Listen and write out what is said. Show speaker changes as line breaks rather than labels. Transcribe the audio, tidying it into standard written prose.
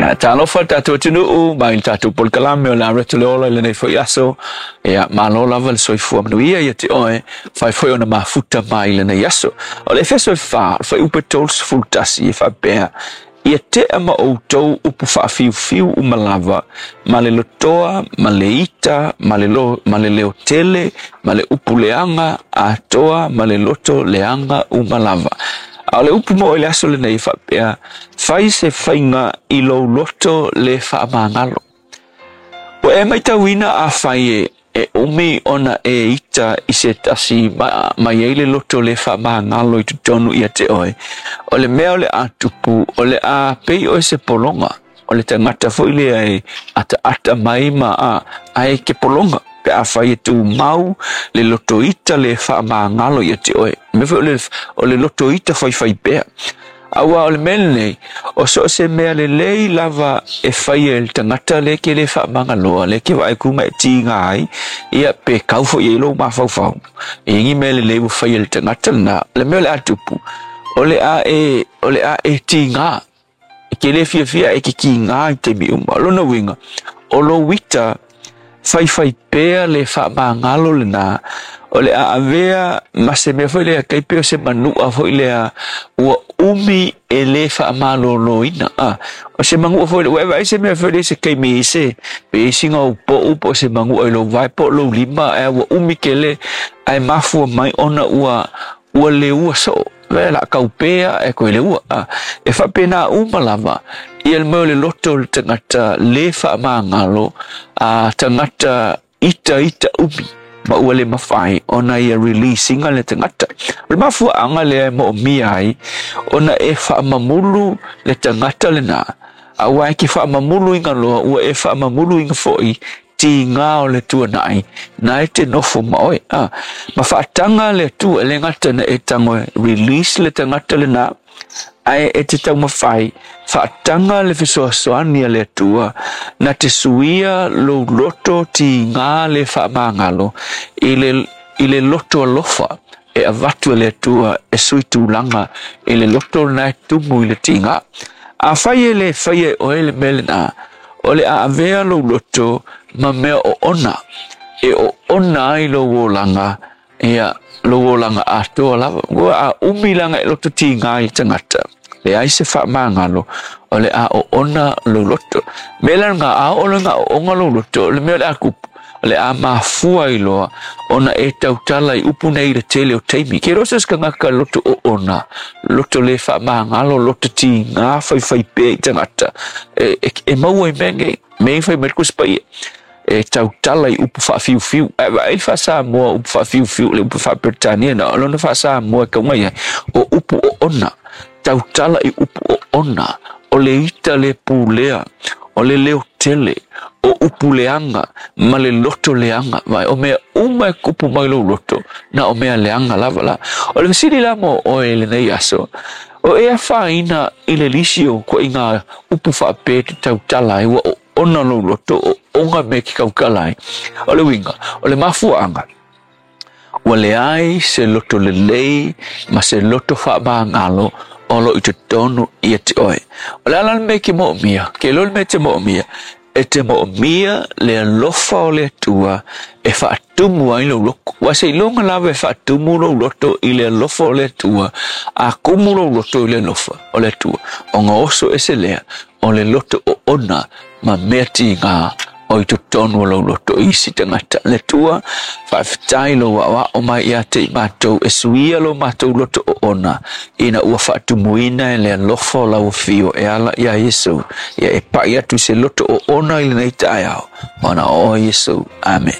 Ia, talofa le tatou atunuu mai le tatou polokalame o le Areto le Ola i lenei foi aso. Ia, malo lava le soifua manuia ia te oe, fai foi ona mafuta mai i lenei aso. O le Efeso e 4, o le fuaiupu e 31 e faapea, Ia tea ma outou upu faafiufiu uma lava, ma le lotoa, ma le ita, ma le, lo, ma le leotele, ma le upu leaga, atoa ma le loto leaga uma lava. A o le upu mo i le aso lenei e faapea, fai se faiga i lou loto le faamagalo. Ua e matauina afai e, e umi ona e ita i se tasi ma, ma i ai le loto le faamagalo i totonu ia te oe. O le mea o le a tupu, o le a pei oe se pologa. O le tagata foi lea e ataata mai ma a, ae ke pologa. Pe afai e tumau le loto ita le faamagalo ia te oe. Mea foi o le, o le loto ita faifai pea. Aua o le mea lenei, o so o se mea lelei lava e faia e le tagata lea ke le faamagaloa, lea ke vaai ku ma e tiga ai, ia pe kau foi i ai lou mafaufau. E i ni mea lelei ua faia e le tagata lena, o le mea o le a tupu, o le a e, o le a e tiga. E ke le fiafia e ke tiga i taimi uma. O lona uiga, o lou ita faifai pea le faamagalo lena, o le a avea ma se mea foi lea kai pei o se manua foi lea ua umi e le faamaloloina. A, o se manua foi lea, ua e vaai se mea foi lea se taimi i se, pe i sina ou po'u po o se manua i lou vae po o lou lima, ae ua umi tele ae mafua mai ona ua ua leua soo. Le la kau pea e koe leua. A, e faapena uma lava ia le mea o le loto o le tagata le faamagalo, a tagata ita ita umi ma ua le mafai ona ia release inga le tagata. O le mafuaaga lea e moomia ai ona e faamamulu le tagata lena, aua e ke faamamulu inga loa ua e faamamulu inga foi tiga o le tuanai na e te nofo ma oe. A, ma faataga le Atua e le gata na e tago e release le tagata lena, ae e te taumafai faataga le fesoasoani a le Atua na te suia lou loto tiga le faamagalo i le, i le loto alofa e avatu e le Atua e sui tulaga i le loto lena e tumu i le tiga. Afai e le faia e oe le mea lena, o le a avea lou loto ma mea oona e oona ai lou olaga, ia lou olaga atoa lava. Ua a umi laga e loto tiga i le tagata, leai se faamagalo, o le a oona lou loto. Mea lena a oo loa ina oona lou loto, o le mea o le a tupu, o le a mafua ai loa ona e tautala i upu nei i le tele o taimi. Ke iloa so o se tagata loto oona, loto le faamagalo, loto tiga faifai pea i tagata, e, e, e maua i mea nei. Mea i fai mai le Tusi Paia, e tautala i upu faafiufiu. Ae vaai le faa-Samoa upu faafiufiu, le upu faa-Peretania na o lona faa-Samoa e tauga i ai, o upu oona, tautala i upu oona, o le ita le pulea, o le leo tele, o upu leaga ma le loto leaga. Vaai, o mea uma e kupu mai lou loto, na o mea leaga lava la. O le fesili la mo oe i lenei aso, o e afaina i le lisi o ituaiga upu faapea e te tautala ai, ua oona lou loto, oona mea e te tautala ai. O le uiga, o le mafuaaga, ua leai se loto lelei ma se loto faamagalo o lo o i totonu ia te oe. O le a la le mea e te moomia? Ke iloa le mea e te moomia? E te moomia le alofa o le Atua e faatumu ai lou loto. Aua seiloga lava e faatumu lou loto i le alofa o le Atua, a tumu lou loto i le alofa o le Atua, ona oso ese lea o le loto oona ma mea tiga o i totonu o lou loto i isi tagata. Le Atua, faafetai lou aoao mai ia te i matou e suia lo matou loto oona ina ua faatumuina e le alofa o lau afio e ala iā Iesu, ia e pai atu i se loto oona i lenei taeao, ona o oe Iesu. Amene.